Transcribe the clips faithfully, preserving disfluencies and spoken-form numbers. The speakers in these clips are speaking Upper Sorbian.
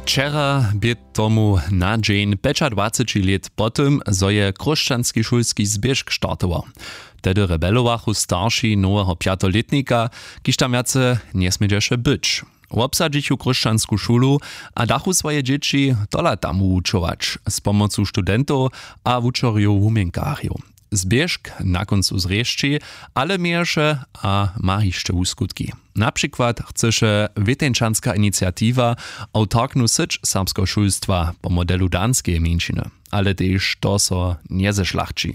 Wčera bě tomu na dźeń pjećadwaceći lět po tym, zo je chróšćanski šulski zběžk startował. Tehdy rebelowachu starši noweho pjateho lětnika, kiž tam wjace njesmědźeše być. Wobsadźichu chróšćansku šulu a dachu swoje dźěći tola tam wuwučować z pomocu studentow a wučerjow wuměnkarjow. Zběžk na kóncu zrěšći, ale měješe a ma hišće wuskutki. Na přikład chcyše wěteńčanska iniciatiwa awtarknu syć serbskeho šulstwa po modelu danskeje mjeńšiny, ale tež to so njezešlachći.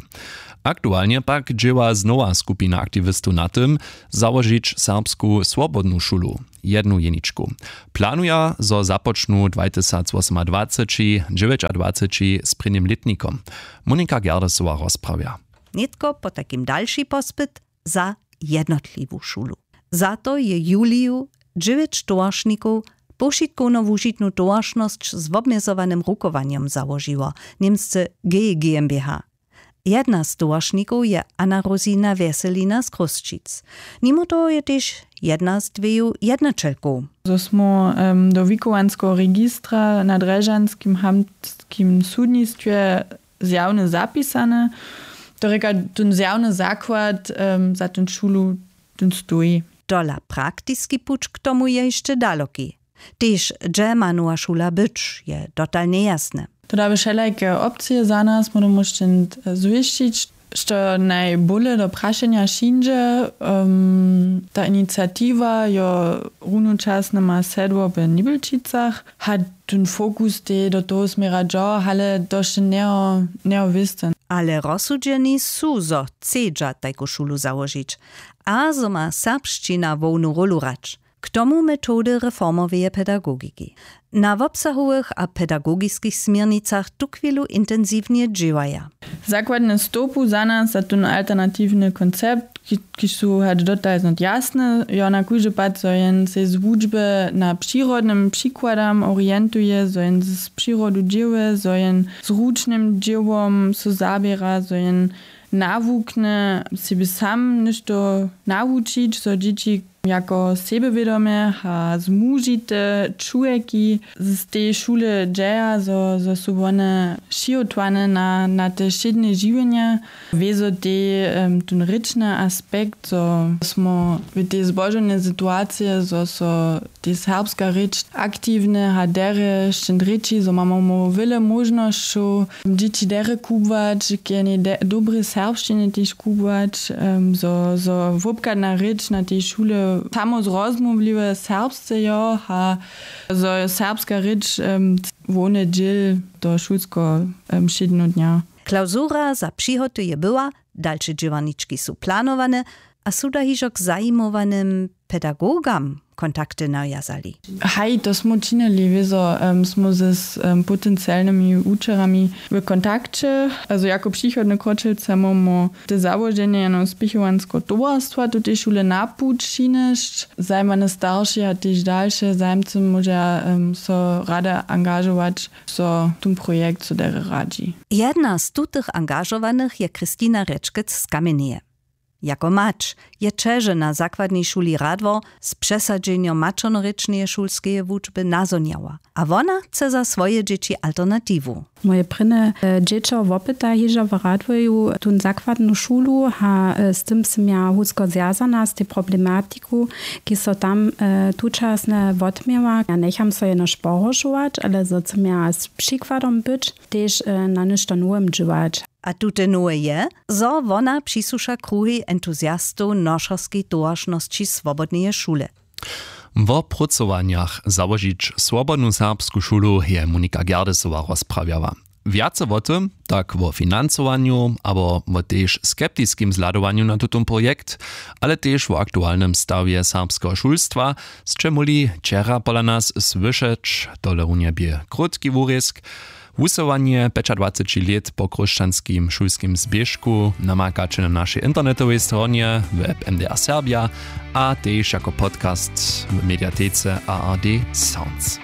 Aktualnje pak dźěła znowa skupina aktiwistow na tym, załožić serbsku swobodnu šulu, jednu jeničku. Planuja, zo započnu dwatysacwosomadwaceći dźewjećadwaceći z prěnim lětnikom. Monika Gerdesowa rozprawja. Nětko potajkim dalši pospyt za jednotliwu šulu. Za to je juliju dźewjeć towaršnikow powšitkowno wužitnu towaršnosć z wobmjezowanym rukowanjom załožiło, němsce G GmbH. Jedna z towaršnikow je Anna Rosina Wjeselina z Chrósćic. Nimo toho je tež jedna z dweju jednaćelkow. Zo smo em, do wikowanskeho registra na drježdźanskim hamtskim sudnistwje zjawne zapisane, to rěka, ten zjawny zakład em, za ten šulu, ten stoji. Tola praktiski puć k tomu je hišće daloki. Tež hdźe ma nowa šula być, je dotal njejasne. To da by wšelajke opcije za nas móžemy šćent zwěsćić, što najbóle do prašenja přińdźe. Em, ta iniciatiwa jo runočasnje ma sedło w Nibelčicach, a ten fokus tej do toho směra dźo, ale to wšće njeho njeho wěsty. Ale rozsudźeni su, zo chcedźa tajku šulu załožić a zo ma serbšćina hłownu rólu hrać. K tomu metody reformoweje pedagogiki. Na wobsahowych a pedagogiskich směrnicach tuchwilu intensiwnje dźěłaja. Zakładne stołpu za nas za ten alternatiwny koncept, ki- kiž su hač dotal znot jasne, jo, na kóždy pad zo jen sej z wučby na přirodnym přikładam orientuje, zo jen z přirodu dźěłuje, zo jen z ručnym dźěłom so zaběra, zo jen nawuknje sebi sam něšto nawučić, zo dźěći jako sebjewědome a zmužite čłowjeki z tej šule dźeja, zo zo su wone přihotowany na na te wšědne žiwjenje. Wězo tej em, ten rěčny aspekt, zo smo w tej zbožownej situacije, zo so tej serbska rěč aktiwnje a derje šćent rěči, zo mamy wjele móžnosćow dźěći derje kubłać, k jenej de- dobrej serbšćinje tež kubłać, em, zo zo wobchadna rěč na tej šule samo zrozumliwe serbsce jo a zo je serbska rěč em, hłowny dźěl toho šulskeho em, wšědneho dnja. Klausura za přihoty je była, dalše dźěłarnički su planowane a su da hižo k zajimowanym pedagogam kontakty nawjazali. Haj, to smy činili, wězo em, smy z em, potencialnymi wučerjami w kontakće. Azo jako přichodny kročelce móhmy te załoženje jeno spěchowansko towarstwa tutež wule na puć přinjesć. Zajimane starši a tež dalše zajimcy móža em, so rady angažować, zo tón projekt so derje radźi. Jedna z tutych angažowanych je Christina Rječkec z Kamjenjeje. Jako mać je ćeže na zakładnej šuli Radwor z přesadźenjom maćernorěčneje šulskeje wučby nazhonjała a wona chce za swoje dźěći alternatiwu. Moje prěnje dźěćo wopyta hižo w Radworju tón zakładnu šulu a z tym sym ja hutsko zwjazana z tej problematiku, kiž so tam tučasnje wotměła. Ja njecham so jenož pohoršować, ale zo chcym ja z přikładom być, tež na něšto nowym dźěłać. A tute nowe je, zo wona přisłuša kruhej entuziastow nošerskej towaršnosći swobodneje šule. Wo prócowanjach załožić swobodnu serbsku šulu je Monika Gerdesowa rozprawjała. Wjace wo tym, tak wo financowanju abo wo tež skeptiskim zhladowanju na tutón projekt, ale tež wo aktualnym stawje serbskeho šulstwa, sće móhli wčera pola nas słyšeć. Tolerunje bě krótki wurězk. Wusyłanje pjećadwaceći lět po chróšćanskim šulskim zběžku namakaće na našej internetowej stronje, w app M D R Serbja, a tež jako podcast w mediatece A R D Sounds.